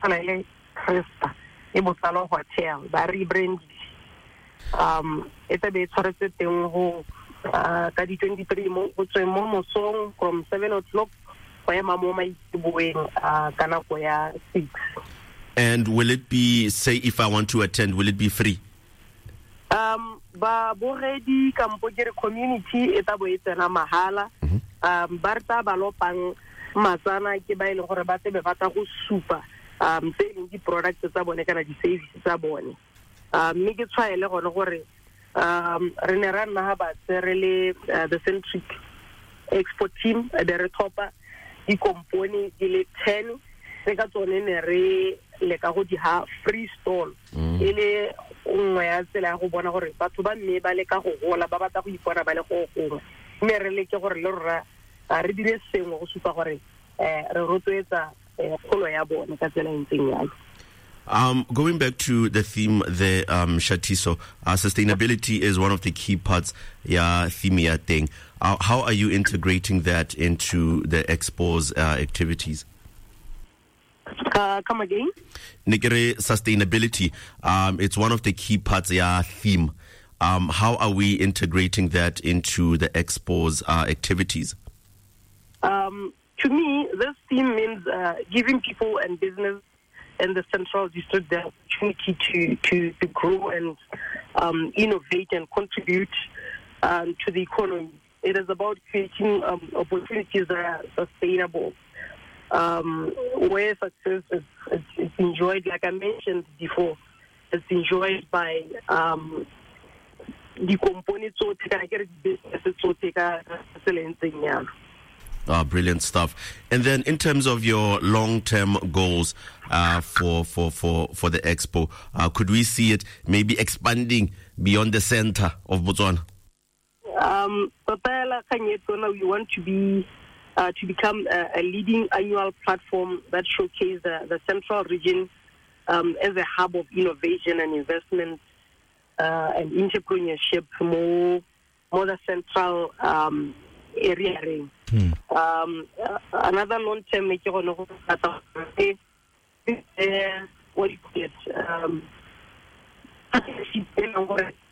tlhola e le Cresta e Botsalo Hotel, ba rebrandile. E tlabe e tshwaretswe teng go ka di 23 mo go tsweng mo mosong from 7 o'clock go ema mo maitseboeng ka nako ya 6. And will it be, say, if I want to attend, will it be free? Ba bogedi kampo ke re community e tla bo e tsena mahala. Ba re tla ba lopang matsana ke ba e leng gore ba tsebe ba tla go supa tse e leng di-products tsa bone kana di-service tsa bone. Mme ke tshwaele gone gore re ne ra nna ga batse re le the Centric Expo team, be re thopa dikompone di le 10 tse ka tsone ne re leka go di ha free stall, e le nngwe ya tsela ya go bona gore batho ba mme ba leka go gola, ba batla go ipona ba le go gongwe, mme re leke gore le rona re dire sengwe go supa gore re rotloetsa kgolo ya bone ka tsela e ntseng yalo. Going back to the theme there, Shatiso, sustainability is one of the key parts ya theme ya thing. How are you integrating that into the expo's activities? Come again? Nikere, sustainability, it's one of the key parts ya theme. How are we integrating that into the expo's activities? To me, this theme means giving people and business in the Central District the opportunity to grow and innovate and contribute to the economy. It is about creating opportunities that are sustainable, where success is enjoyed, like I mentioned before, it's enjoyed by the company business. Brilliant stuff. And then in terms of your long-term goals for the expo, could we see it maybe expanding beyond the center of Botswana? We want to be to become a leading annual platform that showcases the central region as a hub of innovation and investment and entrepreneurship, more the central area. Another long term, what do you call it?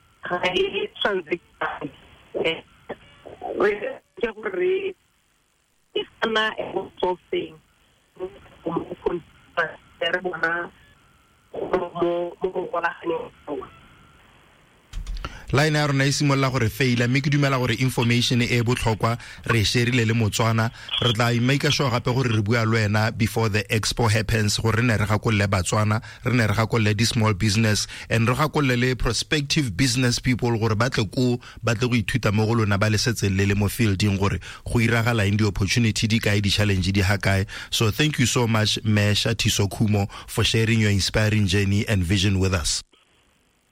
Line ya rona e simolola gore faila, mme ke dumela gore information e botlhokwa re shareile le Motswana. Re tla make sure gape gore re bua le wena before the expo happens, gore re ne re gakolole Batswana, re ne re gakolole di small business, and re gakolole le prospective business people gore ba tle ko ba tle go ithuta mo go lona ba le setse le le mo fielding gore go iragala eng, di opportunity di kae, di challenge di ha kae. So thank you so much, Mme Shatiso Khumo, for sharing your inspiring journey and vision with us.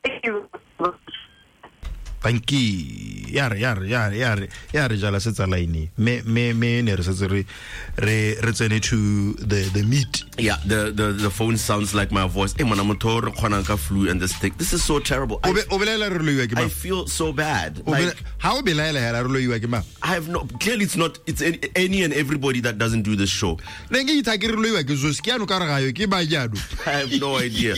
Thank you. Thank you. Ya re jala setsa line. Me ne re setse re tsene to the meat. Yeah, the phone sounds like my voice. Hey, mona motho re kgona ka flu and the stick. This is so terrible. O belaela re loiwa ke mang? I feel so bad. Like, how belaela hela re loiwa ke mang? I have no, clearly it's not, it's any and everybody that doesn't do this show. Ne ke itha ke re loiwa ke zo ske ano ka re ga yo ke ba jalo. I have no idea.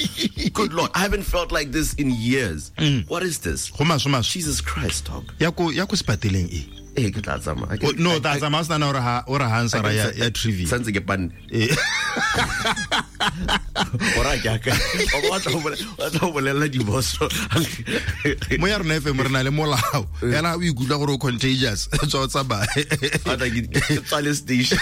Good Lord, I haven't felt like this in years. What is this? Go maswe maswe. Jesus Christ, dog. Ya ko sepateleng e. Eh, ke tla tsamaya. No, tla tsamaya o sena ora ha answer ya trivia. Santse ke panne. Ora ke aka. O batla go bolela diboso. Mo ya rona FM re na le molao. Ela o ikutlwa gore o contagious. Tswa o tsamaye. Batla ke tswale station.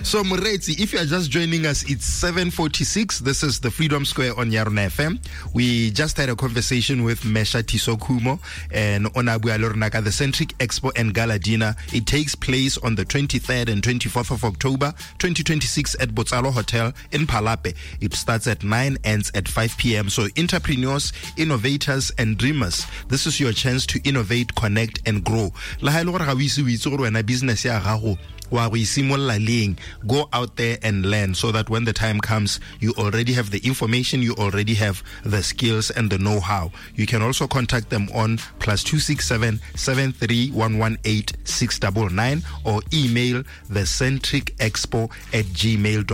So Moretsi, if you are just joining us, it's 7:46. This is the Freedom Square on Yarona FM. We just had a conversation with Mme Shatiso Khumo and Onabua Lornaka, the Centric Expo and Gala Dinner. It takes place on the 23rd and 24th of October, 2026 at Botsalo Hotel in Palapye. It starts at 9, ends at 5 p.m. So entrepreneurs, innovators, and dreamers, this is your chance to innovate, connect, and grow. La ha e le gore ga o ise o itse gore wena business ya gago Wa go isimolola leng? Go out there and learn so that when the time comes, you already have the information, you already have the skills and the know-how. You can also contact them on +267 73118 699 or email thecentricexpo@gmail.